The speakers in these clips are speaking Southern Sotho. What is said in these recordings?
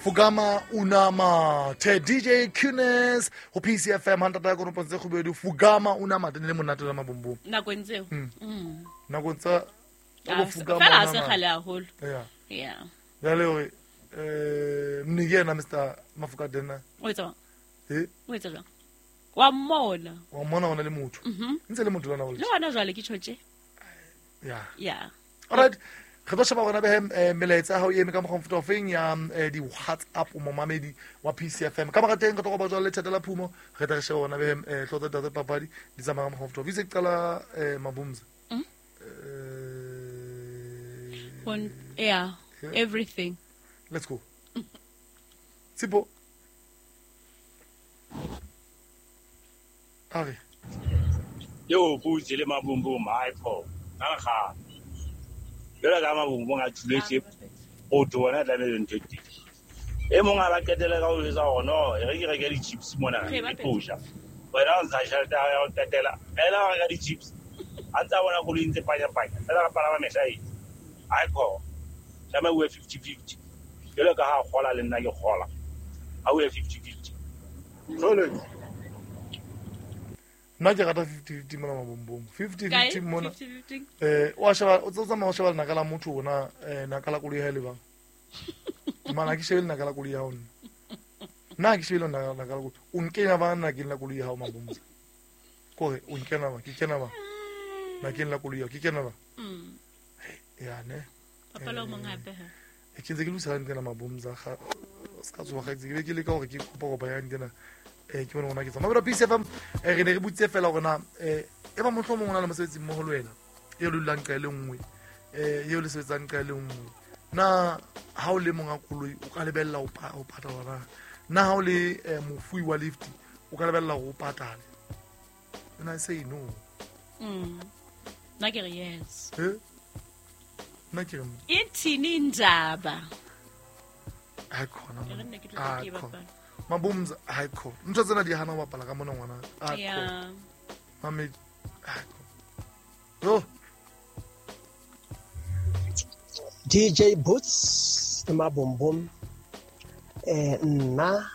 Fugama Unamathe, DJ Kunes ho PCFM hantata ya konopo tse kgubedu. Fugama Unamathe ne le monate la mabombom nakong tseo. Nakong tsa Ah, bo Fugama fela ha se Unamathe. kgale haholo. Yeah. Yeah. Jwale hore mne ke yena Mr Mafokadena. O etsa jwang? Eh, O etsa jwang? Wa mmona. wa mmona hona le motho. Ntse le motho lona Le hona jwale ke tjho tje. Yeah. Yeah. Alright. Re tlo sheba gona behe melaetsa ya hao e eme ka mokgwa mofuta ofeng ya di-WhatsApp o momamedi wa PCFM. Ka mora teng re tlo kopa jwale lethata la phumo, re tla re sheba gona behe hlooho tsa ditaba tsa papadi di tsamaya ka mokgwa mofuta ofe. Itse ke qala Mabumza. Yeah. Yeah. Everything. Let's go. Tshipo. A re. Yo putse le mabumbum hayi pho nangikhala jwalo ka mabumbum a thuletse motho wona tlamehile ntho e teng e mong a ba qetele ka ho jwetsa hore no e re ke reke di-chips mona Re ke bapetse. tlo ja wena o ntsha tjhelete ya hao ya ho qetela fela wa reka di-chips a ntse a bona koloi e ntse panyapanya fela re palama mehla eng hayi pho tlameha o ye 50-50 jwalo ka ha a kgola le nna ke kgola ha o ye 50-50 jwale. Nna ke rata 50-50 mona mabombom. 50-50 Kae? mona. 50-50. Wa sheba o tsamaya o sheba lenaka la motho ona naka la koloi ya hae le bang. Mana ha ke shebe lenaka la koloi ya hao nna. Nna ha ke shebe lenaka la koloi. O nkenya ba nakeng la koloi ya hao Mabumza. Kore o nkena ba, ke kena ba. Nakeng la koloi ya hao, ke kena ba. Ya ne. Bapala o mong hape he. E ke ntse ke lokisa hantle na Mabumza ga se ka tsoga ke be ke leka hore ke kopa kopa ya hantle na. Ke bone gona ke tsamaya. Mabelo PCFM re ne re butse fela hore na e ba mohlomong o na le mosebetsi mmoho le wena eo le dulang ka e le nngwe, eo le sebetsang ka e le nngwe. Na ha o le monga koloi o ka lebella ho patala na? Na ha o le mofui wa lift o ka lebella hore o patale? And I say no. Nna ke re yes. Eh? Nna ke re no. Ithini indaba? Hayi khona E re monna. nne ke tlo tla ke Hayi e khona. bapala. Mabumza hayi khona. Ntho tsena di hana ho bapala ka mona ngwana. Hayi khona. Yeah. Mamedi hayi khona. Yo. DJ Boots le Mabombom, nna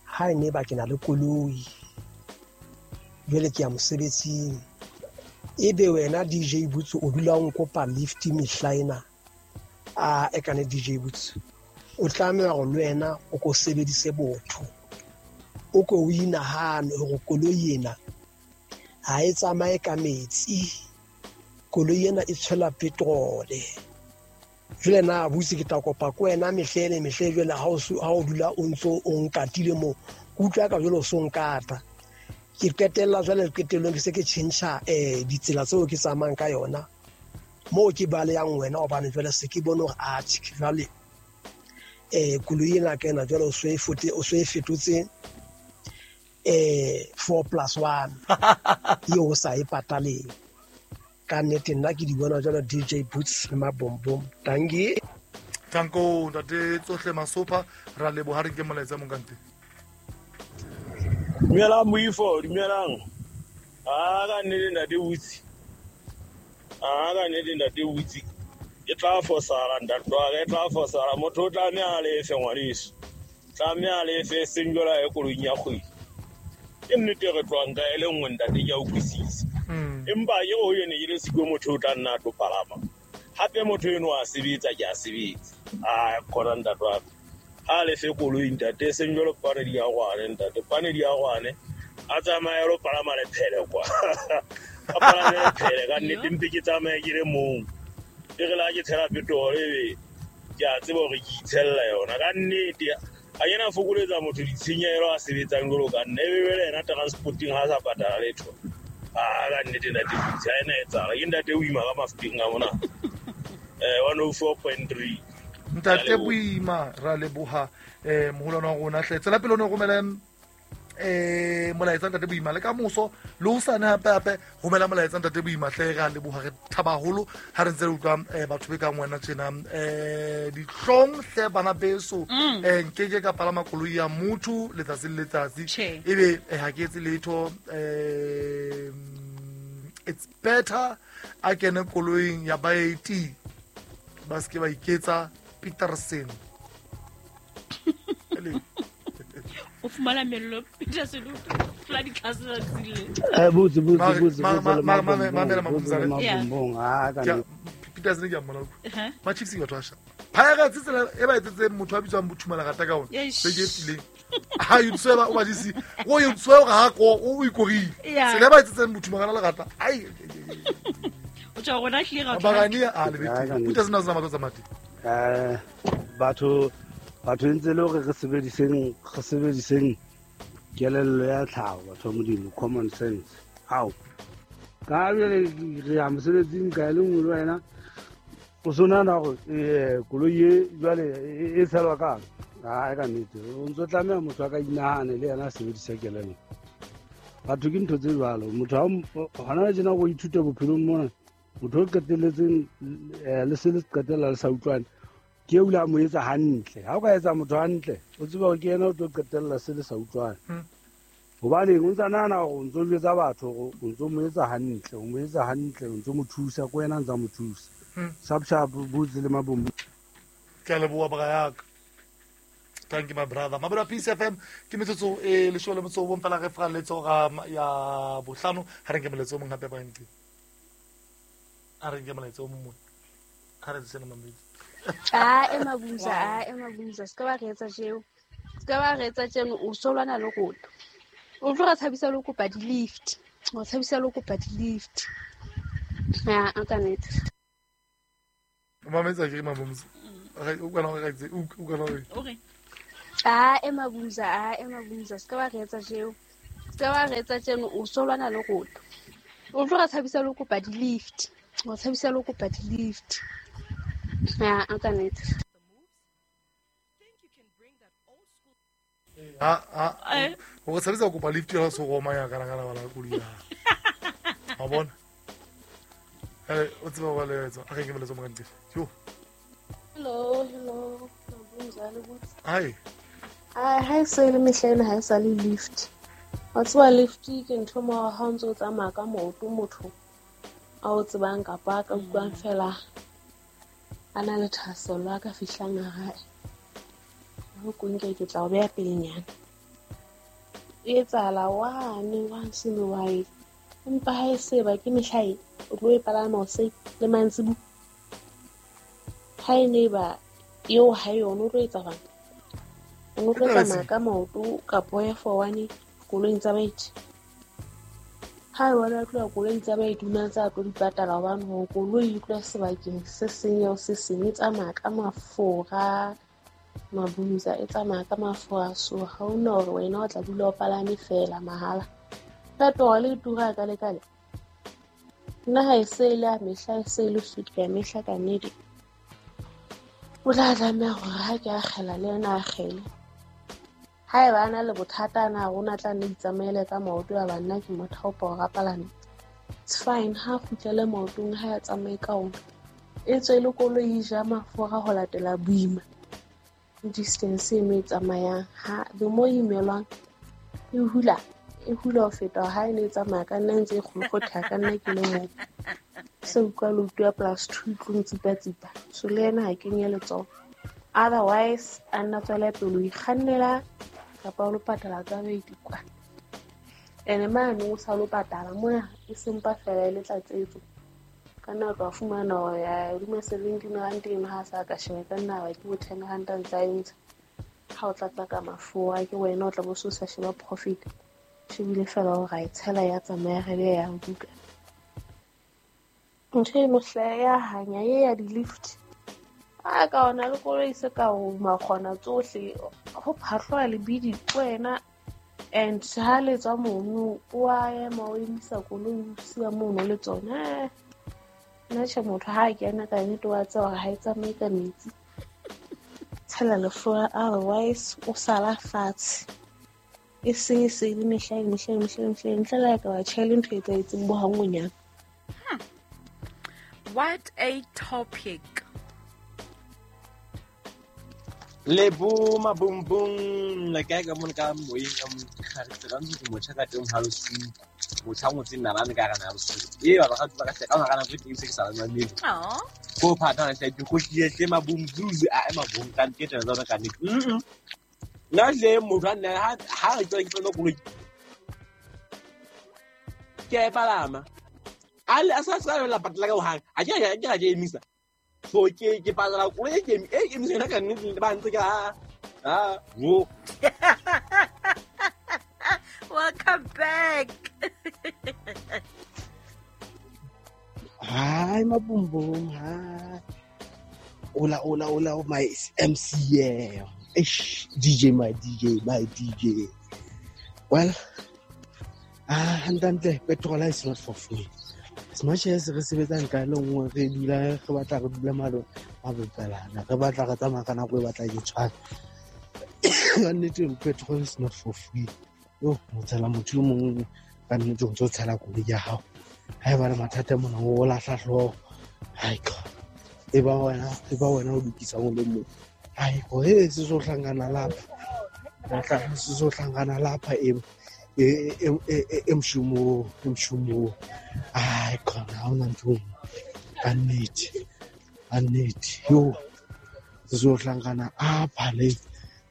ha e ne ba ke na le koloi jwale ke ya mosebetsing, ebe wena DJ Boots o dula o nkopa lift mehla ena, a e kane DJ Boots o tlameha hore le wena o ko sebedise botho, o ko o inahane hore koloi ena ha e tsamaye ka metsi, koloi ena e tshela petrole. Jwale na butse ke tla kopa ko wena mehle le mehle jwale ha o ha o dula o ntso o nkatile moo, ke utlwa ka jwale o so nkata. Ke qetella jwale qetellong ke se ke tjhentjha ditsela tseo ke tsamayang ka yona moo ke balehang wena, hobane jwale se ke bone hore atjhe jwale koloi ena ka ena jwale o so e fote, o so e fetotse 4+1 eo o sa e pataleng. Ka nnete nna ke di bona jwalo DJ Boots le Mabombom. Tanki. Tanko ntate tsohle Masopha ra leboha re nke molaetsa mong ka ntle. Dumelang Moifo, dumelang. A ka nnete ntate Boots. A ka nnete ntate Boots. E tla fosala ntate wa ka, e tla fosala. Motho o tlameha a lefe ngwaneso. Tlameha a lefe seng jwalo ha e koloing ya kgwedi. Ke nnete re tlohang ka e le nngwe ntate, ke a utlwisisa. Empa ke ho ene ke le siko motho o tla nna a tlo palama. Hape motho eno a sebetsa, ke a sebetsa. A khona ntate wa ka. Ha lefe koloi ntate, seng jwalo pane di a rwane ntate, pane di a rwane. A tsamaye a lo palama lephele kwa. A palame lephele ka nnete, mpe ke tsamaye ke le mong. E re la ke tshela petrol ebe ke a tseba hore ke itshella yona ka nnete. Ha ke na fokoletsa motho ditshenyehelo a sebetsang jwalo ka nna, ebe jwale yena transporting ha sa patala letho. Ah, ka nnete ntate Boots, ha ena etsahala. Ke ntate Boima ka Mafikeng a mona. 104.3. Ntate Boima ra leboha moholwane wa rona hle. Tswela pele o ne romele molaetsa ntate Boima le ka moso le hosane hape hape romela molaetsa ntate Boima hle. Ra leboha, re thaba haholo ha re ntse re utlwa batho be kang wena tjena. Dihlong hle bana beso, nkeke ka palama koloi ya motho letsatsi le letsatsi ebe ha ke etse letho. It's better a kene koloing ya baeti ba se ke ba iketsa Peterson. O fumana mello Peter Seluto tla ditlhase tsa tsile. Botse Mamela Mabumzane. Ah ka Peter Seluto ke a mmona. Ma Chiefs ke batho ba sharp. Pirates tsela e ba etsetse motho a bitswang Bothumela rata ka ona. Be ke fileng. Ha you tsweba o ba disi. O you tsweba ha ko o ikorile. Tsela e ba etsetseng Bothumela le rata. Ai. O tswa rona tlile ga Bagania a le bete. Peter Seluto na matlo tsa mati. Batho ntse le hore re sebediseng kelello ya tlhaho batho ba Modimo, common sense. Ao ka jwale re ya mosebetsing ka le nngwe le wena o so nahana hore koloi e jwale e tshelwa kang. Ai ka nnete o ntso tlameha motho a ka inahane le yena a sebedisa kelello. Batho ke ntho tse jwalo. Motho hona tjena go ithuta bophelong mona, motho o qetelletseng le se le qetella le sa utlwane ke o la mo etsa hantle. Ha o ka etsa motho hantle o tseba hore ke yena o tlo qetella se le sa utlwane. Hobane o ntsa nahana hore o ntso jwetsa batho hore o ntso mo etsa hantle, o mo etsa hantle, o ntso mo thusa, ko wena ntsa mo thusa. Sharp sharp Botse le Mabombo. Ke a leboha bra yaka. Thank you my brother. Mabelo Peace FM ke metsotso e 19 fela re fra letso ga ya bohlano. Ha re nke moletso o mong hape ba ntse. Ha re nke moletso o mong. Ha re tsena mamedi. Ah Emabumza se ka ba re etsa jeo. Se ka ba re etsa tjeno o so lwana le rona. O tlo re tshabisa le kopa di-lift. O tshabisa le kopa di-lift. Ya, ka nnete. Mametsa ke Mabumza. O kana re tse o kana re. Okay. Ah Emabumza se ka ba re etsa jeo. Se ka ba re etsa tjeno o so lwana le rona. O tlo re tshabisa le kopa di-lift. O tshabisa le kopa di-lift. Ya, ka nnete. Ha o tshabisa kopa lift ya so roma ya kana kana bala koloi ya. Ha bona. O tseba ba le etsa. A re ke moletso mo kante. Yo. Hello. Mabumza le botse. Hi. Ah, ha se le mehla ena ha e sa le lift. Wa tseba lift ke ntho mo ha o ntso tsamaya ka maoto motho a o tsebang kapa ka utlwang fela a na le thahasello a ka fihlang hae. Ho konke ke tla o beha pelenyana. E etsahala wane once in a while. Empa ha e se ba ke mehla e o tlo e palama hoseng le mantsibuya. Ha e ne ba eo ha yona o tlo etsa bang. O tlo tsamaya ka maoto kapo ya for one koloing tsa baeti. Ha e bona tloha koloing tsa baeti o na tsa tlo di patala hobane hore koloi e tloha sebakeng se seng eo se seng e tsamaya ka mafura. Mabumza e tsamaya ka mafura, so ha ona hore wena o tla dula o palame fela mahala. Petrol e tura ka lekale. Nna ha e se le a mehla e se le suit ka mehla ka nnete. O tla tlameha hore ha ke akgela le yena akgele. Ha eba a na le bothata na rona tla nne itsamaele ka maoto a banna ke motho o pa rapalane. It's fine ha kgutlele maotong ha ya tsamaye ka ona. E tswe le koloi e ja mafura ho latela boima. Distance e me tsamayang ha the more imelwang e hula ho feta ha e ne tsamaya ka nna ntse e kgolokgotha ka nna ke le mong. Se utlwa le utlwa plus 2 tlong tsipa-tsipa. So le yena ha kenye letsoho. Otherwise a nna tswela pele ho ikgannela kapa o lo patala tsa baeti kwa. Ene mane o sa lo patala mona e sempa fela e le tlatsetso. Ka nna ka fumana hore ya hodima 17 rand eno ha sa ka sheba ka nna ba ke bo 10 rand tsa entsha. Ha o tlatsa ka mafura ke wena o tla bo so sa sheba profit. Shebile fela hore a e tshela ya tsamaya re be ya buka. Ntho eno hle ya hanya e ya di-lift. A ka ona le koloi se ka o makgona tsohle ho phahlwa lebidi wena and ha le tswa mono o a ema o emisa koloi o siya mono le tsona. Nna tjhe motho ha kena ka nnete wa tseba hore ha e tsamaye ka metsi. Tshela lefura otherwise o sala fatshe. E seng e se le mehla ntle le ka ba tjhele ntho e etsahetseng bo hangonyana. What a topic. Lebo mabumbung la kae ka mona ka moyeng ka mokgare ka ntse motjha ka teng ha losuku motjha o ngotseng nalane ka gana losuku e ba ba ka hle ka gana go teng se ke sa mamele go phata na hle ke go tlile hle mabumzuzu a ema bong ka ntete tsona ka nnete. Nna hle motho a nna ha re tswa ke tsena koloi ke a e palama a le a sa sa la patala ka hohang a ke a ke a ke emisa so ke patala koloi e ke e emisa yona ka nnete ba ntse ke a wo. Welcome back. Hi Mabumbum, hi. Hola, hola, hola, my MCM. Ish, DJ, my DJ, my DJ. Well, hantle petrol is not for free. As much as re sebetsang ka le nngwe re dula re batla re dula malo mabopelana, re batla re tsamaya ka nako e batla ke tshwana. Ka nnete petrol is not for free. Yo, o tshela motho o mongwe ka nnete o ntse o tshela koloi ya hao. Ha e ba le mathata mona o lahla hlooho. Hai ka. E ba wena o lokisa o le mong. Hai go he se so hlangana lapha. Batla se so hlangana lapha e mshumo mshumo. Ai khona ha ona ntho. Ka nnete. Ka nnete. Yo se so hlangana apha le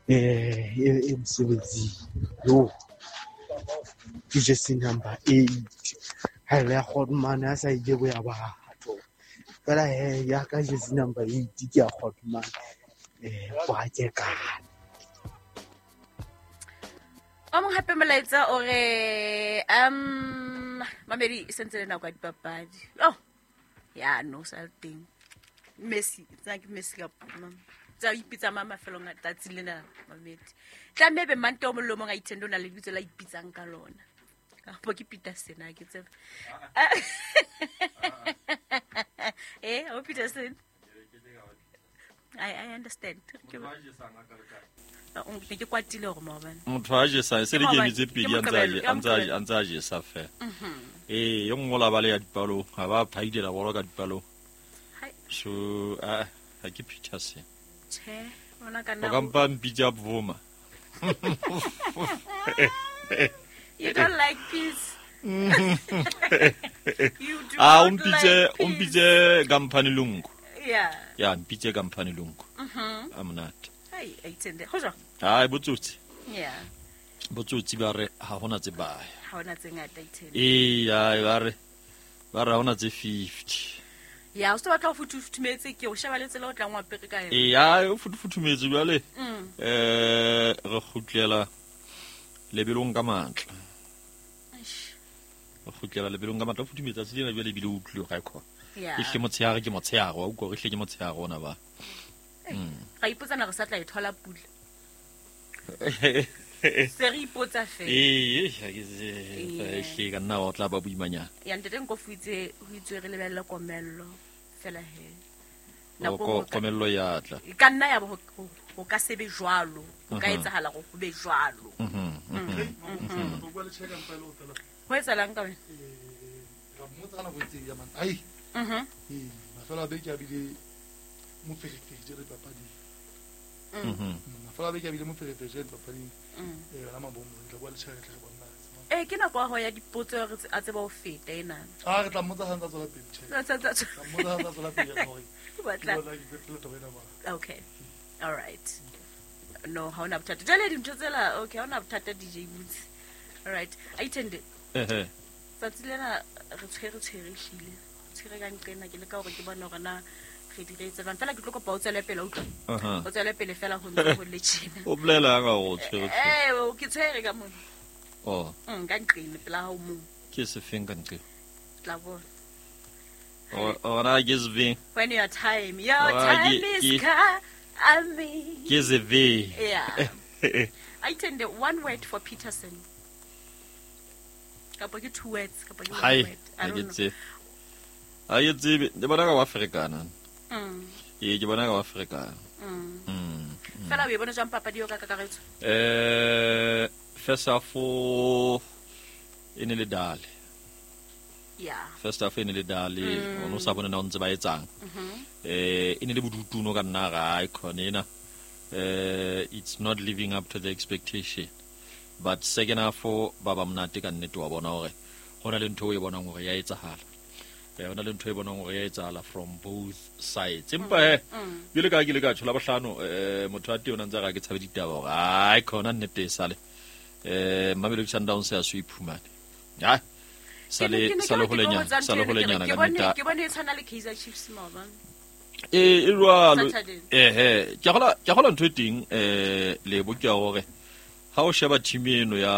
emsebenzini. Yo ke number 8. Ha le kgodmane a sa ile bo ya batho. Fela he ya ka jersey number 8 ke ya kgodmane. Kwa ke ka. O mong hape molaetsa o re mamedi e sentse le nako ya dipapadi. Oh. Ya no sa teng. Messi, tsa ke Messi ka tsa ipitsa mama mafelong a tsatsi lena mamedi. Tla mme be mante o mollo mong a ithendo na le lebitso la ipitsang ka lona. Kapo ke Peterson a ke tsebe. O Peterson. I understand. Ke kwatile hore maobane. Motho a jesa se le ke emitse pedi a ntse a jesa fela. Ee, yo nngwe la ba le ya dipalo, ha ba phaidela bolo ka dipalo. So ha ke Peterson. Che, ona ka nna. O ka mpa mpitsa Bvuma. You don't like peace. You do not like peace. Umpitse company lungu. Yeah. Yeah, mpitse company lungu. I'm not. Ai, aitsende. Ho jwang? Ai botsotsi. Yeah. Botsotsi ba re ha hona tse baya. Ha hona tse ngata itsende. Ee, ai ba re ha hona tse 50. Ya, o se batla ho futhumetse ke o sheba le tsela o tlang wa pere ka yona. Ee, ai o futhumetse jwale. Re kgutlela lebelong ka matla. Re kgutlela lebelong ka matla o futhumetsa tsela jwale ebile o utlwile ga e khona. Yeah. E hle motshehare ke motshehare wa utlwa re hle ke motshehare ona ba. Ga ipotsana re sa tla e thola pula. Se re ipotsa fela. Ee, ha ke se hle ka nna o tla ba boimanyana. Ya ntate nko fuitse ho itswe re lebelle komello fela he. Nako komello ya tla. E ka nna ya bo ho ka sebe jwalo, ho ka etsahala go be jwalo. Ho etsahalang ka wena? Ra mmotsa ka nako e itseng ya man. Ai. Mafelo a beke a bile moferefere jere dipapading. Mafelo a beke a bile moferefere jere dipapading. Yona mabomo re tla bua le tjhelete re bona. Ke nako ya ho ya dipotso re a tseba ho feta ena. A re tla mmotsa ha ntse tswela pele tjhelete. Tla mmotsa ha ntse tswela pele hore. Okay. All right. No, ha ona bothata. Jwale dintho tsela okay, ha ona bothata DJ Boots. All right. Aitende. Tsatsi lena re tshwere hlile. Tshwere ka nqena ke le ka hore ke bona hore na re diretse jwang. Fela ke tlo kopa o tswele pele utlwa. O tswele pele fela ho ntse ho le tjena. O bolela ka o tshwere. Ke tshwere ka mona. Oh. Ka nqena pela ha o mong. Ke se feng ka nqena? Tla bona. Ora ke se feng? When your time, your time is coming. Ke se feng? Yeah. Aitende one word for Peterson. Kapo ke two words, kapo ke one word. I don't know. Ai tsebe, ke bona ka wa Afrikana. Ee, ke bona ka wa Afrikana. Fela o e bona jwang papadi eo ka kakaretso? First half e ne le dale. Yeah. First half e ne le dale, o no sa bona na o ntse ba etsang. E ne le bodutu no ka nna ga e khone ena. It's not living up to the expectation. But second half ba ba monate ka nnete wa bona hore hona le ntho e bonang hore ya etsahala. Hona le ntho e bonang hore e etsahala from both sides. Empa he jwale ka ke le ka tshola bohlano motho a teng o ntse a re ke tshabe ditaba hore ai khona nnete e sale. Mamelodi Sundowns ya so iphumane. Ha sale holenyana ka nnete. Ke bone e tshwana le Kaizer Chiefs maobane. E jwalo. Ke gola ntho e teng Lebo ke hore ha o sheba team eno ya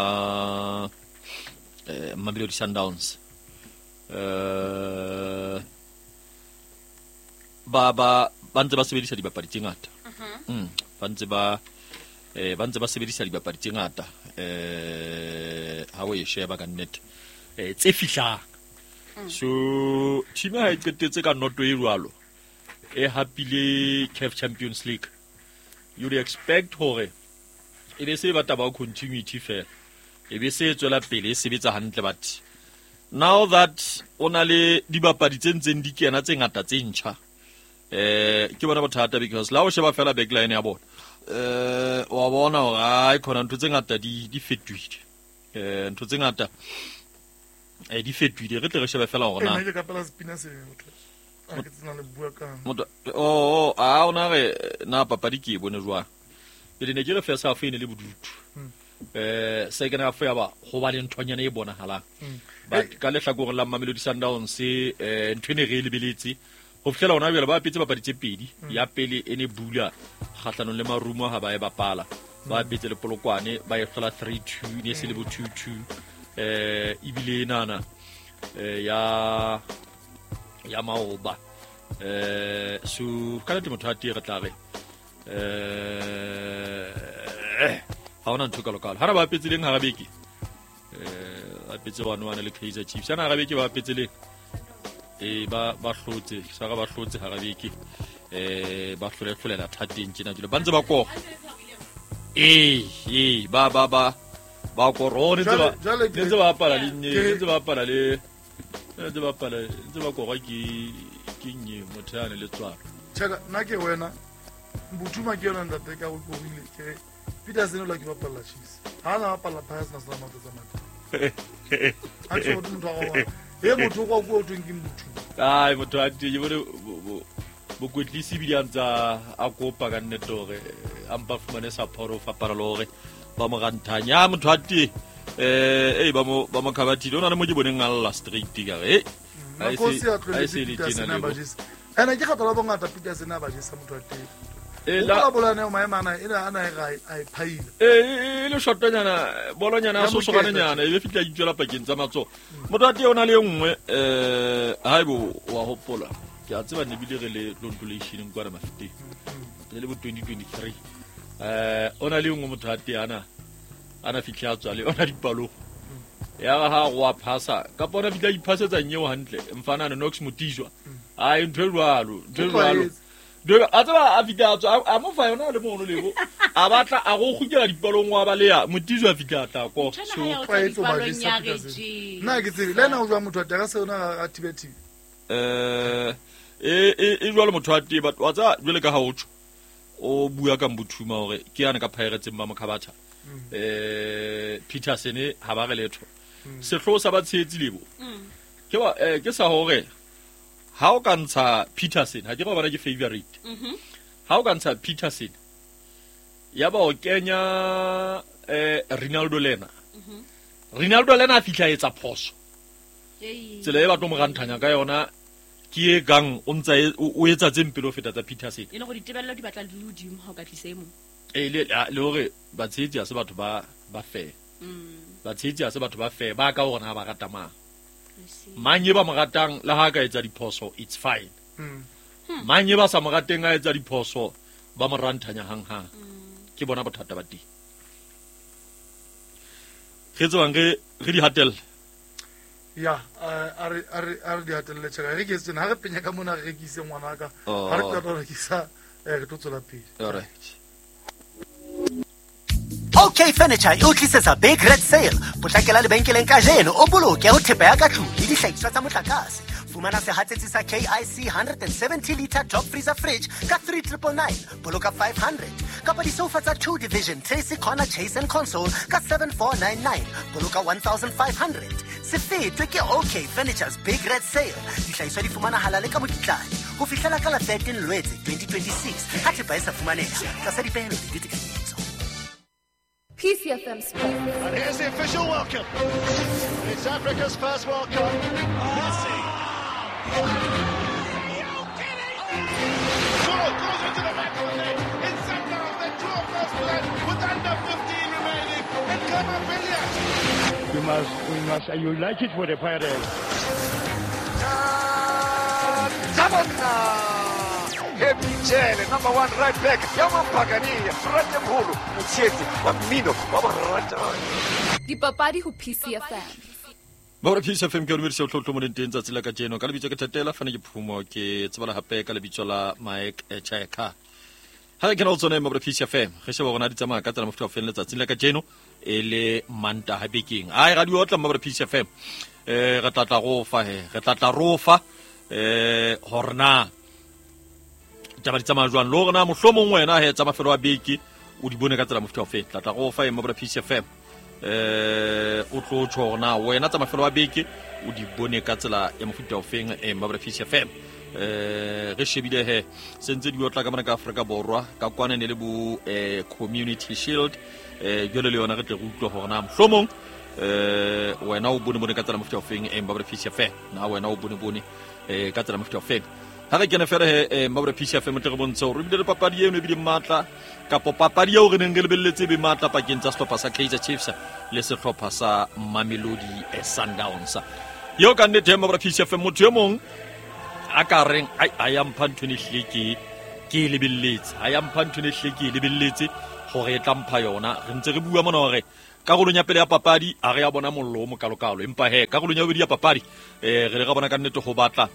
Mamelodi Sundowns ba ntse ba sebedisa dibapadi tse ngata. Ba ntse ba sebedisa dibapadi tse ngata ha o e sheba ka nnete tse fihlang. So team ha e qetetse ka noto e jwalo e hapile CAF Champions League, you would expect hore e be se batla ba continuity fela, e be se tswela pele e sebetsa hantle. But now that o na le dibapadi tse ntseng di kena tse ngata tse ntjha, ke bona bothata because la o sheba fela backline ya bona, wa bona hore ai khona ntho tse ngata di fetohile. Ntho tse ngata di fetohile. Re tle re shebe fela hore na ke kapela spina se motho a ke tsena le bua ka motho o a ona re na papadi ke e bone jwang. Pele ne ke re first half e ne le bodutu, second half ya ba ho ba le nthonyana e bonahalang. But ka lehlakoreng la Mamelodi Sundowns ntho e ne re e lebeletse ho fihlela hona jwale, ba apetse papadi tse pedi. Ya pele e ne bula kgahlanong le Marumo ha ba e bapala, ba apetse le Polokwane ba e hlola 3-2, ne se le bo 2-2. Ebile nana ya maoba. So ka nnete motho a tee re tla re ha hona ntho kalokalo. Ha re ba apetse leng hara beke, apetse 1-1 le Kaizer Chiefs. Ana hara beke ba apetse leng ba hlotse sa ba hlotse hara beke, ba hlolela thateng tjena jwale ba ntse ba kora. Ba kora ne ntse ba bapala le ntse ba bapala le ntse ba bapala ntse ba kora ke nye motho ya ne le tswalo. Chaka nna ke wena Mbuthuma ke yona ntate ka o korile ke Peterson o la ke bapalla Chiefs. Ha na bapalla Pirates na sala matsa tsamata. A tshwo motho wa wa. E motho go go tweng ke Mbuthuma. Ai motho a teng bone bokwetlisi bile antsa a kopa ka nnete hore a mpa fumane support o fapana le hore ba mo ranthanya motho a teng ba mo khabathile. O na le mo ke boneng a lla straight ka re a se le tjena le. Ena ke kgathala bongata Peterson a ba jesa motho a teng. La bolana maemana ena ana e ga a phaile. E le shotonyana bolonyana so sogananyana e be fitla itswela pakeng tsa matsoho. Motho a teng o na le nngwe haibo wa hopola. Ke a tseba ne bile re le tlontolation kwa re mafiteng. Le le bo 2023. O na le nngwe motho a teng ana fitla tswa le ona dipalo. Ya ha go a phasa ka pona fitla iphasetsa nyeo hantle mfana Knox Mutizwa. Ai ntho e jwalo. A tseba a fitla tswa a mo fa yona le mono lebo. A batla a go gukela dipalong wa balea Mutizwa fitla tla ko. So nna ke tsebe le na o jwa motho a tega se ona a thibe thibe. E jwalo motho a teng but wa tsa jwale ka ha o tjho o bua ka Mbuthuma hore ke yana ka Pirates ba mokhabatha. Peterson ha ba re letho. Sehloho sa ba tshehetsi lebo. Ke ba ke sa hore ha o ka ntsha Peterson ha ke go bona ke favorite. Ha o ka ntsha Peterson ya ba o kenya Ronaldo lena. Ronaldo lena a fihla etsa phoso. Tsela e ba tlo mo ranthanya ka yona ke e kang o ntsa o etsa tse mpelo feta tsa Peterson. E le gore ditebello di batla di le hodimo ha o ka tlisa e mong. Le hore batshehetsi ha se batho ba fair. Batshehetsi ha se batho ba fair ba ka hore na ba rata mang. Mang e ba mo ratang le ha ka etsa diphoso it's fine. Mang e ba sa mo rateng a etsa diphoso ba mo ranthanya hang-hang. Ke bona bothata ba teng. Re tsebang re di hatelle. Ya a re di hatelle tjhaka re ke tsena ha re penya ka mona re rekise ngwana ka ha re qeta ho rekisa re tlo tswela pele. All right. OK Furniture e o tlisetsa Big Red Sale. Potlakela lebenkeleng kajeno o boloke ho thepa ya ka tlung le dihlahiswa tsa motlakase. Fumana sehatsetsi sa KIC 170 liter top freezer fridge ka 3999, boloka 500. Kapa disofa tsa 2 division Tracy Corner Chase and Console ka 7499, boloka 1500. Se fetwe ke OK Furniture's Big Red Sale. Dihlahiswa di fumanahala le ka mokitlane ho fihlela ka la 13 Loetse 2026 ha thepa e sa fumaneha tlasa dipehelo le ditekanyetso. PCFM Sports. And here's the official welcome. It's Africa's first World Cup. Messi. Goal goes into the back of the net. It's Sundowns that draw first blood with under 15 remaining. And Kamabilia. We must unite it for the Pirates. Happy Jele, number one right back. Yamampagania, Ratemholo, Motshetsi, wa mmino, wa boratani. Dipapadi ho PCFM. Ba PCFM ke o dumedisa o tlotlo mo leng teng tsatsi la kajeno. Ka lebitso ke Thatela, fane ke Phumo, ke tsebala hape ka lebitso la Mike Cheka. Ha re kena ho tsona mo PCFM, re sheba hore na di tsamaya ka tsela mofuta o feng letsatsing la kajeno e le Mantaha bekeng. Ai ra di otla mo PCFM. Re tla tla ro fa he, re tla tla ro fa hore na taba di tsamaya jwang le hore na mohlomong wena he tsa mafelo a beke o di bone ka tsela mofuta o feng. Tla tla ro fa mo PCFM. O tlo tjho hore na wena tsa mafelo a beke o di bone ka tsela ya mofuta o feng mo PCFM. Re shebile he sentse di otla ka mona ka Afrika Borwa ka kwana ne le bo Community Shield jwale le yona re tle re utlwe hore na mohlomong wena o bone ka tsela mofuta o feng mo PCFM. Na wena o bone ka tsela mofuta o feng. Ha re kene fela he mo PCFM tle re bontshe hore ebile le papadi eno ebile matla kapo papadi eo re neng re lebelletse be matla pakeng tsa sehlopha sa Kaizer Chiefs le sehlopha sa Mamelodi Sundowns. Eo ka nnete mo PCFM motho e mong a ka reng ai a mpha ntho ne hle ke lebelletse, a ya mpha ntho ne hle ke lebelletse hore e tla mpha yona. Re ntse re bua mona hore karolong ya pele ya papadi a re ya bona mollo o mokalokalo, empa he karolong ya bobedi ya papadi re le ra bona ka nnete ho batla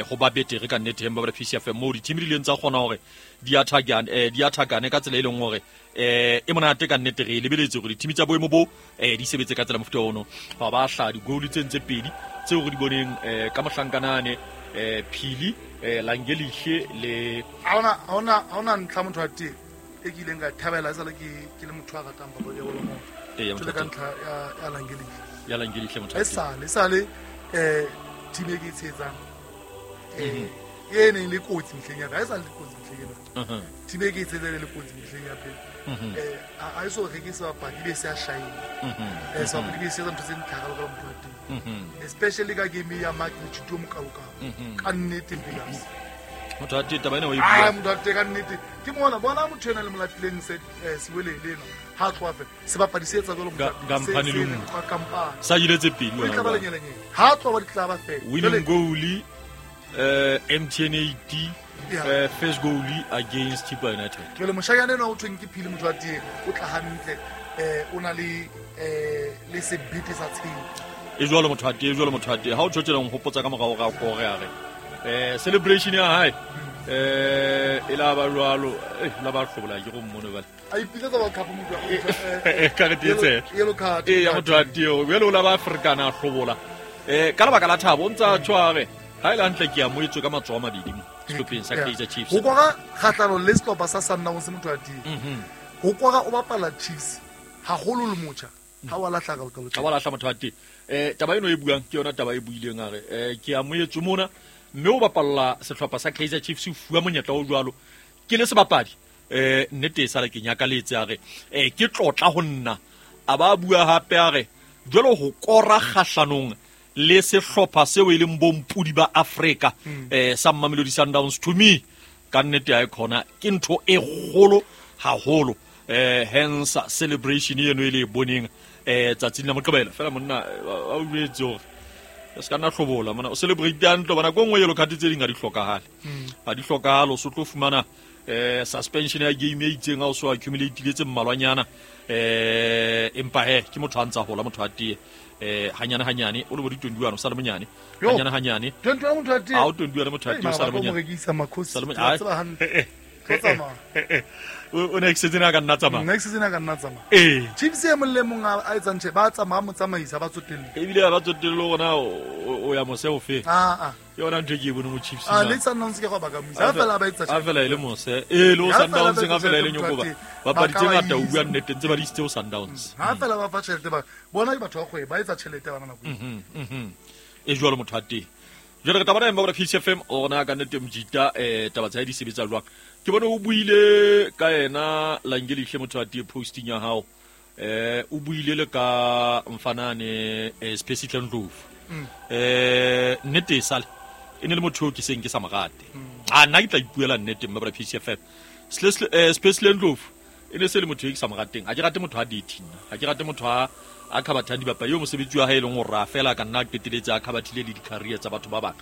ho ba betere ka nnete ba PCFM mo di-team di ileng tsa kgona hore di attackane ka tsela e leng hore e monate ka nnete. Re lebeletse hore di-team tsa boemo bo di sebetse ka tsela mofuta ono. Ba ba hla di-goal tse ntse pedi tseo re di boneng ka mohlankanane Phili Langelihle le ha ona ntlha motho wa teng e ke ileng ka thabela e sale ke le motho a ratang papadi ya bolo mo. Jwale ka ntlha ya Langelihle. Ya Langelihle motho. E sale team e ke e tshehetsang e neng le kotsi mehleng ya ka, ha e sale le kotsi mehleng ena. Team e ke e tshehetsang le kotsi mehleng ya pele. A e so reke sebapadi be se a shine. Sebapadi be se etsa ntho tse ntle ka motho wa teng. Especially ka game ya Mark Motshituo Mokalokalo. Ka nnete Mpilas. Motho wa teng taba ena o e bua. Motho wa teng ka nnete. Ke mona bona motho ena le molatileng se Siwelele ena. Ha tloha fela sebapadi se etsa jwalo motho. Kampane le nngwe. Sa ile tse pedi wena. Tla ba lenyelenyele. Ha tloha ba ditlaba fela. Winning goal MTN 80 first goal against Chippa United. Jwale moshanyana ena o thweng ke Phili motho wa teng o tla hantle o na le le sebete sa tshepo. E jwalo motho wa teng, jwalo motho wa teng. Ha o tjho tjena nhopotsa ka morao ga kore a re celebration ya hae e la ba jwalo la ba hlobola ke go mmone bale. A ipitsetsa World Cup motho ka re tse yellow card ya motho wa teng jwalo la ba Afrikana hlobola ka lebaka la thabo o ntsa tshware ha ile hantle ke a moetswe ka matsoho a mabedi mo sehlopheng sa Kaizer Chiefs. Ho kwara kgahlano le sehlopha sa Sundowns motho wa teng. Ho kwara o bapala Chiefs haholo le motjha. Ha wa lahla ka Ha wa lahla motho wa teng. Taba eno e buang ke yona taba e buileng a re ke a moetswe mona mme o bapalla sehlopha sa Kaizer Chiefs o fuwa monyetla o jwalo ke le sebapadi nnete e sale ke nyakaletse a re ke tlotla ho nna. A ba bua hape a re jwalo ho kora kgahlanong le sehlopha seo e leng bompudi ba Afrika sa Mamelodi Sundowns to me ka nnete ha e khona ke ntho e kgolo haholo. Hence celebration eno e le e boneng tsatsing la Moqebelo fela monna a o jwetse hore se ka nna hlobola mona o celebrate hantle bona ko nngwe yellow card tse ding ha di hlokahale. Ha di hlokahale o so tlo fumana suspension ya game e itseng ha o so accumulate tse mmalwanyana empa he ke motho a ntsa hola motho a tee hanyane hanyane o le bo di 21 o sa le monyane hanyane hanyane 21 motho a tee ha o 21 motho a tee o sa le monyane sa le monyane. Tlo tsamaya. O next season a ka nna tsamaya. Next season a ka nna tsamaya. Ee. Chiefs e mong le mong a etsang tjhe, ba tsamaya motsamaisa ba tsotelle. Ebile ba tsotelle gona o ya mose o fe. Ah. Ke yona ntho e ke e boneng ho Chiefs. Ah, le Sundowns ke go ba ka moisa. Ha fela ba etsa tjhe. Ha fela e le mose. Ee, le ho Sundowns ha fela e le nyokoba. Bapadi tse ngata o bua nnete ntse ba di isitse ho Sundowns. Ha fela ba fa tjhelete ba. Bona ke batho ba kgwebo ba etsa tjhelete bana nako. E jwalo motho wa teng. Jwale re tla bona empa Peace FM ona ka nnete mjita taba tsa di sebetsa jwang. Ke bone o buile ka yena Langelihle motho wa teng posting ya hao. O buile le ka mfanane Spesihle Ndlovu. Nnete sale e ne le motho ke seng ke sa morate. A nna ke tla ipuela nnete mma Peace FM. Spesihle Ndlovu e ne se le motho e ke sa morateng. Ha ke rate motho a dating. Ha ke rate motho a khabathang dibapadi yo mosebetsi wa hae e leng hore a fela ka nna qeteletse a khabathile le di-career tsa batho ba bang.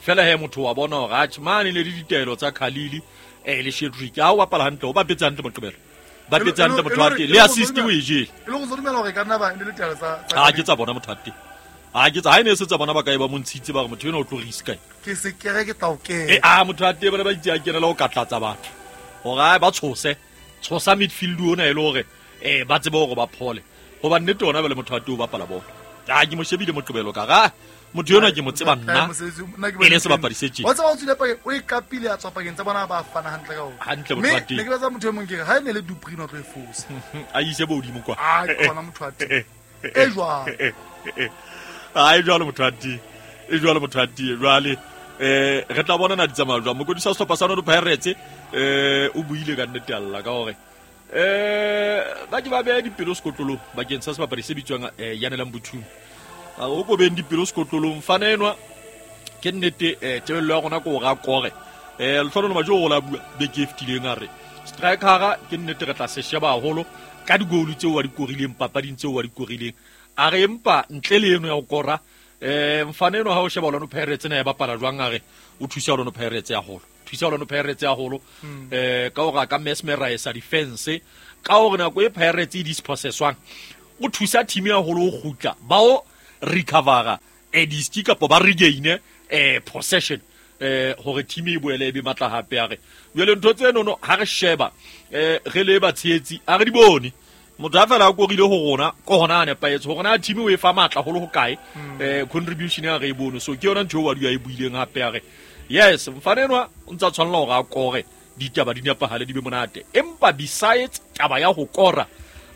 Fela he motho wa bona hore atjhe mane le ditaelo tsa Khalili le Shedrick ha o bapala hantle o bapetse hantle moqebelo. Bapetse hantle motho wa teng le assist o e jele. E le go dumela hore ka nna ba le ditaelo tsa ha ke tsa bona motho wa teng. Ha ke tsa ha ene se tsa bona ba kae ba montshitse ba re motho ena o tlo risk kae. Ke se kere ke tla o kena. A motho wa teng bana ba itse a kenela o katlatsa batho. Hore ba tshose tshosa midfield ona e le hore ba tsebe hore ba phole. Hoba nnete ona bele motho wa teng o bapala bolo. A ke mo shebile moqebelo ka ra motho yona ke mo tseba nna. E le sebapadi se tjena. Wa tseba o tswile pakeng o e kapile a tswa pakeng tsa bona ba fana hantle ka ona. Hantle motho wa teng. Ne ke batla motho e mong ke re ha e ne le Dupree o tlo e fosa. A ise bo hodimo kwa. A ke bona motho wa teng. E jwang. A e jwalo motho wa teng. E jwalo motho wa teng. Jwale re tla bona na di tsamaya jwang. Mokodi sa sehlopha sa Orlando Pirates o buile ka nnete alla ka hore ba ke ba beha dipelo sekotlolong bakeng sa sebapadi se bitswang Yanelang Buthuma. O ko beng dipelo sekotlolong fana enwa ke nnete tebello ya rona ke hore a kore. Lehlohonolo Majo o la bua beke e fetileng a re strikera ke nnete re tla se sheba haholo ka digolu tseo wa di korileng papading tseo wa di korileng. A re empa ntle le eno ya ho kora mfana enwa ha o sheba Orlando Pirates na e bapala jwang a re o thusa Orlando Pirates haholo. Thusa Orlando Pirates haholo ka hore a ka mesmerize defense ka hore nako e Pirates e dispossesswang o thusa team ya haholo ho kgutla ba o recovera diski kapa ba regain possession hore team e boele e be matla hape. A re jwale ntho tseno no ha re sheba re le batshehetsi a re di bone motho a fela a korile ho rona ko hona a nepahetse hore na team o e fa matla holo ho kae contribution ya re e bone. So ke yona ntho eo wa dula e buileng hape a re yes mfana enwa o ntsa tshwanela hore a kore ditaba di nepahale di be monate empa besides taba ya ho kora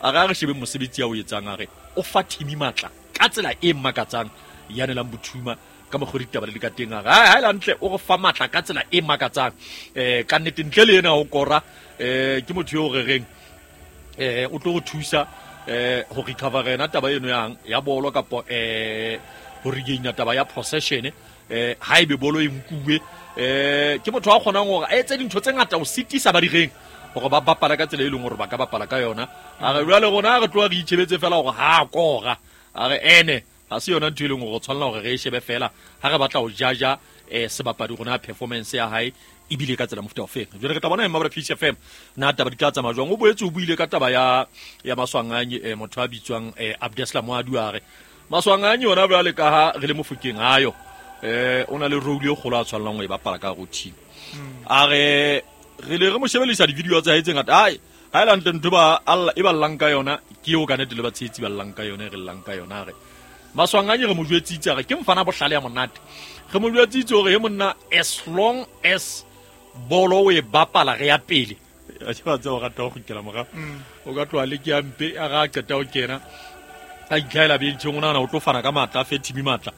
a re shebe mosebetsi ya o etsang a re o fa team matla ka tsela e makatsang Yanelang Buthuma ka mokgwa ditaba le ka teng a re ha ile hantle o re fa matla ka tsela e makatsang ka nnete ntle le ena ho kora ke motho eo re reng o tlo go thusa ho recover ena taba eno yang ya bolo kapa ho regain taba ya possession ha ebe bolo e nkuwe ke motho a kgonang hore a etse dintho tse ngata ho sitisa ba direng hore ba bapala ka tsela e leng hore ba ka bapala ka yona. A re jwale rona re tloha re itjhebetse fela hore ha kora a re ene ha se yona ntho e leng hore tshwanela hore re e shebe fela ha re batla ho jaja sebapadi rona performance ya hae ebile ka tsela mofuta o feng. Jwale re tla bona ema ba Peace FM na taba di tla tsamaya jwang. O boetse o buile ka taba ya Maswanganyi motho a bitswang Abdeslam Aduare. Maswanganyi yona jwale ka ha re le mofokeng ayo o na le role e kgolo a tshwanelang ho e bapala ka ho team. A re re le re mo shebelisa di-video tsa hae tse ngata. Ai ha e lantle ntho ba alla e ba llang ka yona ke eo ka nnete le batshehetsi ba llang ka yona re llang ka yona. Re Maswanganyi re mo jwetsitse re ke mfana bohlale ya monate. Re mo jwetsitse hore he monna as long as bolo o e bapala re ya pele. A ke ba tseba o rata ho kgutlela morao. O ka tloha le ke ya mpe a ra qeta ho kena a itlhaela bencheng o nahana o tlo fana ka matla a fe team matla.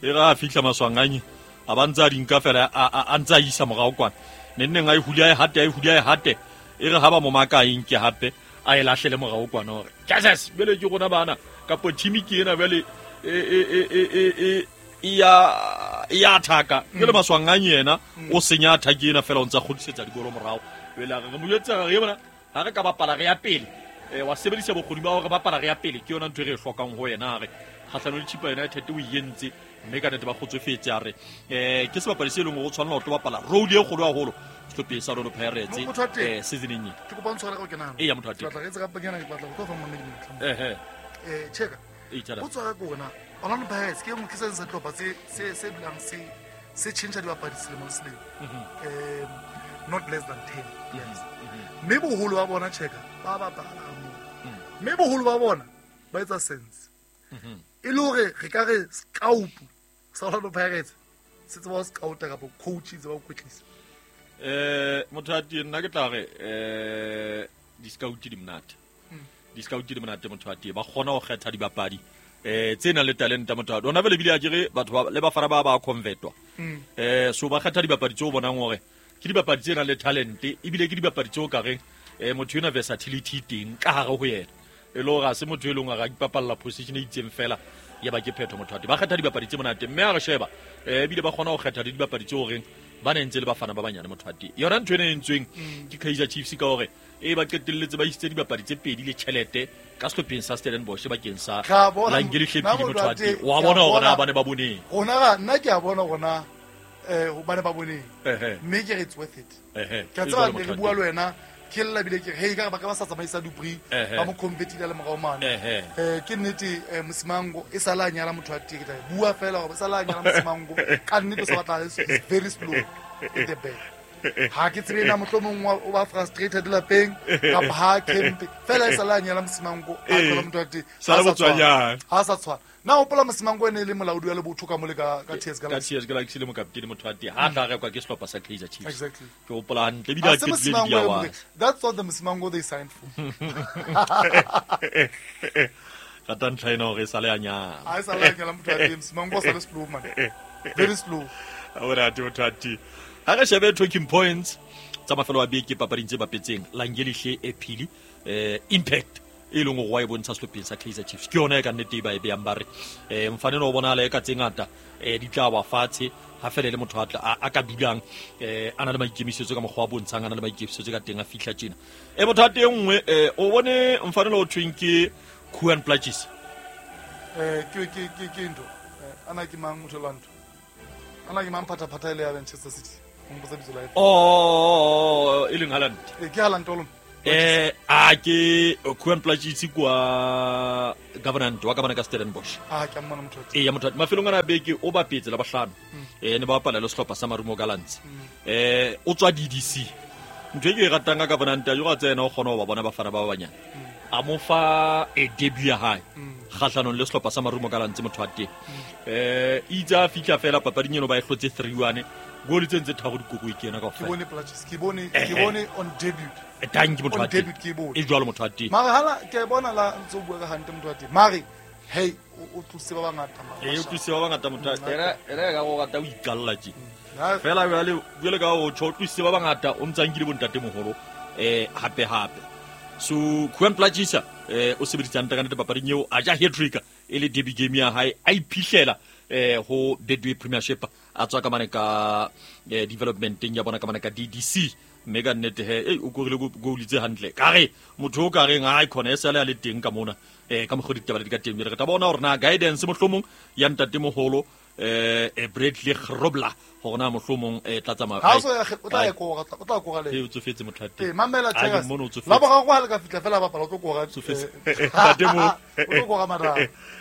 E ra fihla Maswanganyi a ba ntsa di nka fela a ntsa isa morao kwana. Nenneng a e hule a e hate a e hule a e hate e re ha ba mo maka eng ke hape a e lahlele morao kwana hore Jesus bele ke rona bana kapo team ke ena bele e ya athaka ke le Maswanganyi yena o senya athaki ena fela o ntsa kgutlisetsa dikolo morao. Jwale re mo jwetsa re bona ha re ka bapala re ya pele wa sebedisa bokgoni ba hore bapala re ya pele ke yona ntho e re e hlokang ho yena. Re kgahlano le Chippa United o entse mme ka nnete ba kgotsofetse. A re ke sebapadi se leng hore o tshwanela ho tlo bapala role e kgolo haholo sehlopheng sa Orlando Pirates seasoneng ena. Ke kopa o ntshware ka ho kena. Eya motho wa teng. Ke batla re etse ka panyana ke batla ho tlo fa mamedi monyetla. Cheka. O tswa ka rona Orlando Pirates ke ke se sehlopha se dulang se tjhentjha dibapadi selemo le selemo. not less than 10 players. Mme boholo ba bona checka ba bapala moo. Mme boholo ba bona ba etsa sense. E le hore re ka re scout sa Orlando Pirates se tseba ho scouta kapa coach tseba ho kwetlisa. Motho a teng nna ke tla re di-scout di monate. Di-scout di monate motho a teng ba kgona ho kgetha dibapadi tse nang le talenta motho a ona vele bile a kere batho le bafana ba convertwa. So ba kgetha dibapadi tseo bonang hore ke dibapadi tse nang le talent ebile ke dibapadi tseo ka reng motho ena versatility teng ka hare ho yena. E le hore ha se motho e leng hore a ipapalla position e itseng fela ya ba ke phetho motho a teng. Ba kgetha dibapadi tse monate mme ha re sheba ebile ba kgona ho kgetha le dibapadi tseo horeng ba ne ntse le bafana ba banyane motho a teng. Yona ntho ena e entsweng ke Kaizer Chiefs ka hore ba qetelletse ba isitse dibapadi tse pedi le tjhelete ka sehlopheng sa Stellenbosch bakeng sa Langeli Hlepile motho a teng. Wa bona hore na ba ne ba boneng. Rona nna ke a bona rona ba ne ba boneng. Mme ke re it's worth it. Ke a tseba ne re bua le wena ke lla bile ke hey ka ba ka ba sa tsamaisa Dupri ba mo convertile le morao mane. Ke nnete Mosimango e sala nyala motho a teng ke tla bua fela gore e sala nyala Mosimango ka nnete o sa batla very slow at the back. Ha ke tsebe na mohlomong o ba frustrated lapeng kapa ha camp fela e sala nyala Mosimango a tlola motho a teng ha sa tshwana. Na hopola Mosimango ene le molaodi wa lebotho ka mole ka TS Galaxy. Ka TS Galaxy le mokaptene motho a teng ha tla rekwa ke sehlopha sa Kaizer Chiefs. Exactly. Ke hopola hantle ebile a qetile di awa. That's what the Mosimango they signed for. Rata ntlha ena hore e sale a nyala. Ha e sale a nyala motho a teng Mosimango o sale slow man. Very slow. Ora motho a teng. Ha re shebe talking points tsa mafelo a beke papading tse bapetseng Langelihle e phili impact e leng hore wa e bontsha sehlopheng sa Kaizer Chiefs ke yona e ka nnete ba e beyang ba re mfanelo o bonahala e ka tse ngata di tla wa fatshe ha fela le motho a ka dulang a na le maikemisetso ka mokgwa wa bontshang a na le maikemisetso ka teng a fihla tjena. Motho a teng nngwe o bone mfanelo o thweng ke Kuan Platjies. Ke ntho ana ke mang motho la ntho ana ke mang phataphatha ile ya Manchester City. Oh, e leng Haaland. Ke Haaland o lona. A ke Kuan Platjies kwa government wa ka bana ka Stellenbosch. Ah, ke mmona motho. Ya motho mafelong ana beke o bapetse la bahlano. Ne ba bapala le sehlopha sa Marumo Gallants. O tswa DDC. Ntho e ke e ratang ka government ya go tsena o kgona ho ba bona bafana ba banyane. A mo fa e debut ya hae. Kgahlanong le sehlopha sa Marumo Gallants motho wa teng. Itse a fihla fela papading eno ba e hlotse 3-1. Goli tse ntse tharo dikoko ke yena kaofela. Ke bone Platjies, ke bone on debut. Thank you motho wa teng. E jwalo motho wa teng. Mare hala ke bona la ntse o bua ka hantle motho wa teng. Mare hey o tlose ba bangata mara. O tlose ba bangata motho wa teng. Era ka go rata o ikalla tje. Fela jwale ka o tjho tlose ba bangata o ntse a nkile bontate moholo hape hape. So Kuan Platjies o sebeditse hantle ka nnete papading eo a ja hat-trick e le debut game ya hae a iphihlela ho Betway Premiership a tswa ka mane ka developmenteng ya bona ka mane ka DDC mme ka nnete he o korile goal tse hantle ka re motho o ka reng ha khona e sale a le teng ka mona ka mokgwa ditaba di ka teng re tla bona hore na guidance mohlomong ya ntate moholo Bradley Grobler hore na mohlomong tla tsamaya ha o tla ya kora o tla kora le o tsofetse motho a teng mamela tsela la boraro ha le ka fitla fela bapala o tlo kora tsofetse ntate mo o tlo kora mara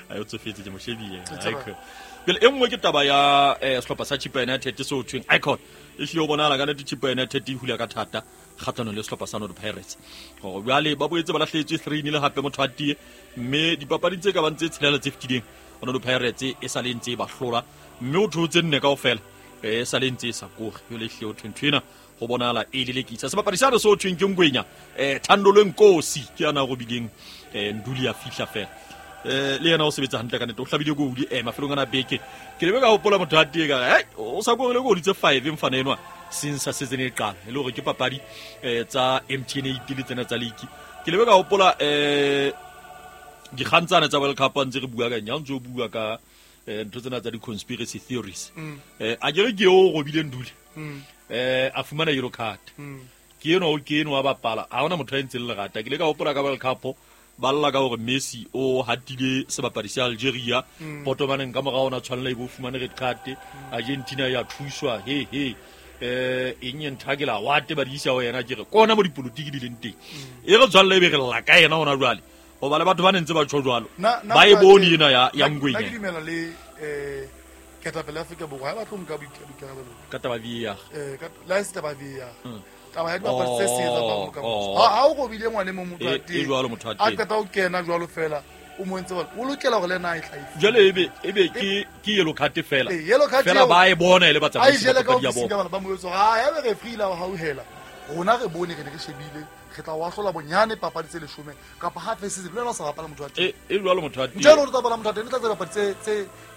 ai o tsofetse ke mo shebile icon pele e nngwe ke taba ya sehlopha sa Chippa United se thweng icon e hlile o bonahala ka nnete Chippa United e hula ka thata kgatlhanong le sehlopha sa North Pirates hore jwale ba boetse ba lahlehetswe 3-0 hape motho a tie mme dipapading tse ka bang tse tshelela tse fetileng Orlando Pirates e sa le ntse e ba hlola mme o theotse nne kaofela e sa le ntse e sa koge jwale ehlile o thwe ntho ena go bonahala e lelekisa sebapadi sane se o thweng ke Ngwenya Thandolwe Nkosi ke yana robileng Nduli ya fihla fela le yena o sebetsa hantle ka nnete o hlabile goal mafelong ana beke ke lebe ka hopola motho a tee ka re o sa korile goal tse 5 mfana enwa since sa season e qala e le hore ke papadi tsa MTN 8 le tsena tsa league ke lebe ka hopola dikgang tsane tsa World Cup ntse re bua ka eng ha ntse o bua ka ntho tsena tsa di-conspiracy theories a ke re ke o robile Nduli a fumana yellow card ke eno o ke eno wa bapala ha hona motho a entseng lerata ke le ka hopola ka World Cup ba lla ka hore Messi o hatile sebapadi sa Algeria potomaneng ka morao ona tshwanela e bo fumane red card Argentina ya thuswa he he eng e nthakela wate ba di isa ho yena ke re kona mo dipolotiki di leng teng e re tshwanela e be re lla ka yena hona jwale hoba le batho ba ne ntse ba tjho jwalo ba e bone ena ya Nna Ngwenya ke dumela le Ketapele ya Afrika Borwa ha ba tlo nka boikarabelo ka taba VAR. Le ha e se taba VAR. Taba ya dibapadi tse se etsang ba bokamoso. Ha o robile ngwane mo motho a teng. E jwalo motho a A teng. qeta ho kena jwalo fela o mo entse jwalo. O lokela hore le ena a e hlahise. Jwale ebe ke yellow card fela. Ee, yellow card Fela eo- ba e bona e le a e batsamaisi ba jele ka papadi ya ofising bona. ka bana ba mo jwetsa hore, "Ah, ya be referee la o hauhela. Rona re bone re ne re shebile re tla o ahlola bonyane papadi tse 10 kapa half a season le wena o sa bapala motho wa teng." E jwalo motho a teng. Ntho e leng hore o tla bapala motho wa teng, e tla tse dipapadi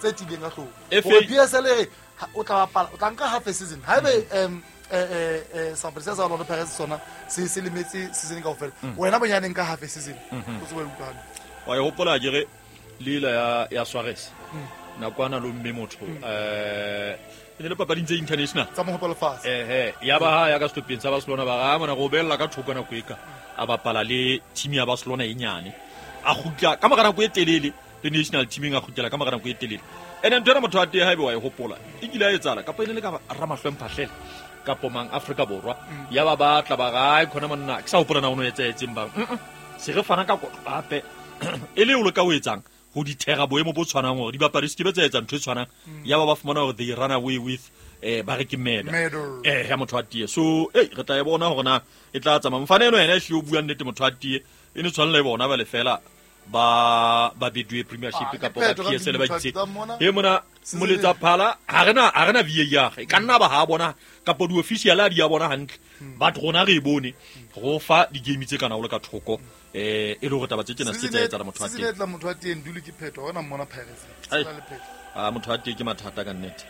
tse tiileng ka hloohong. FA Hore PSL e re, o tla bapala, o tla nka half a season. Haebe, sebapadi se sa Orlando Pirates sona se lemetse season kaofela. Wena bonyane nka half a season. O tsebe ho utlwa hantle. Wa e hopola akere leela ya Suarez. Nakwana lo mme motho. E ne le papading tse international. Tsa mohope wa lefatshe. Ya ba ha ya ka sehlopheng sa Barcelona ba re, mona re o behella ka thoko nako e ka. A bapala le team ya Barcelona e nyane. A kgutla ka mora nako e telele le national teaming a kgutlela ka mora nako e telele. Ene ntho ena motho wa teng haebe wa e hopola, e kile ya etsahala kapa e ne le ka Ramahlwe Mphahlele kapo mang Afrika Borwa. Ya ba batla ba re, "Ai, khona monna, ke sa hopola na o no etsahetseng bang." Se re fana ka kotlo hape. E le o leka o etsang ho dithera boemo bo tshwanang hore dibapadi se ke be tsa etsa ntho e tshwanang. Ya ba ba fumana hore they run away with ba re ke murder. Murder. Ya motho a tie. So, re tla e bona hore na e tla tsamaya. Mfana eno ena e hlile o bua nnete motho a tie. E ne tshwanela e bona ba le fela ba Betway Premiership kapa ba Ke phetho ka PSL ba motho a itse. tsa mona. E mona Season moletsa e- phala ha rena VAR. E ka nna ba ha bona kapa di-official ha di a bona hantle. But rona re e bone go fa di-game tse kana o le ka thoko. E le hore taba tse tjena se tsa etsahala motho a Season teng. e tla motho wa teng dule ke phetho, ha hona mmona Pirates. Ai. Se na le phetho. Ah, motho a teng ke mathata ka nnete.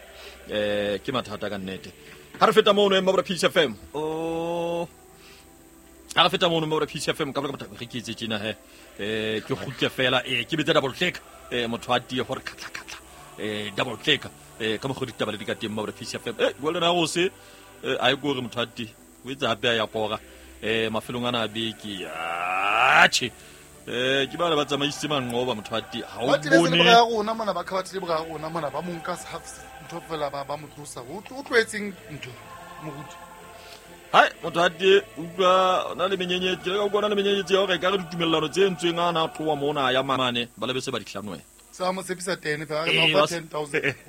Ke mathata ka nnete. Ha re feta mono Mabra Peace FM. Oh. Ha re feta mono Mabra Peace FM ka baka motho re ke etse tjena he. Ke kgutle fela, ke betse double click. Motho a tie hore khatla khatla. Double click. Ka mokgwa ditaba le di ka teng Mabra Peace FM. Jwale na go se a e gore motho a tie. O etsa hape a ya kora. Mafelong ana a beke. Atjhe. Ke ba le ba tsamaisitse manqoba motho a tie. Ha o Ba tebetse le bone bora ya rona mona, ba khabathile bora ya rona mona, ba mo nka half ntho fela ba mo tlosa. O tlohetseng ntho, moruti. Hai, motho a tie utlwa o na le menyenyetsi, ke leka ho bona le menyenyetsi ya hore ekare ditumellano tse entsweng a na tloha mona ya mane, ba lebe se ba di hlanohe. Se ba mo tshepisa 10 fela, a re Eh, ba ba fa se- 10,000.